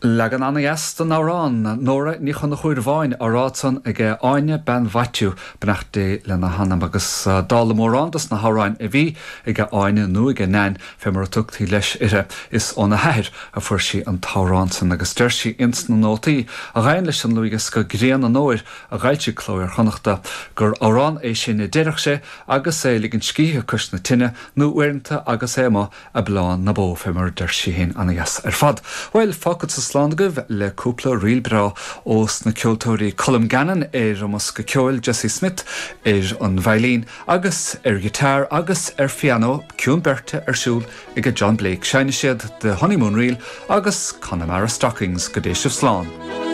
Leagan ana-dheas den amhrán 'Nóra Ní Chonchúir Bháin' á rá ansan ag Áine bean Mhaitiú, beannacht Dé lena hanam, agus dála mórán dos na hamhráin a bhí ag Áine nó ag Nan fé mar a tugtaí leis uirthi, is óna hathair a fuair sí an t-amhrán san agus deir sí ins na nótaí a ghabhann leis an dlúthdhiosca Grian an Fhómhair a d'fhoilsigh Cló Iar-Chonnachta gur amhrán é sin a deireadh sé agus é ag ligint scíthe cois na tine nó uaireanta agus é amuigh Ag bleán na bó, fé mar a deir sí féin, ana-dheas ar fad. Bhuel, fágfadsa slán agaibh le cúpla ríl breá ós na ceoltóirí Colm Gannon ar an mbosca ceoil, Jesse Smith ar an veidhlín agus ar ghiotár agus ar phianó ciúin beirte ar siúl ag John Blake. Seinnfidh siad The Honeymoon Reel agus Connemara Stockings. Go dté sibh slán.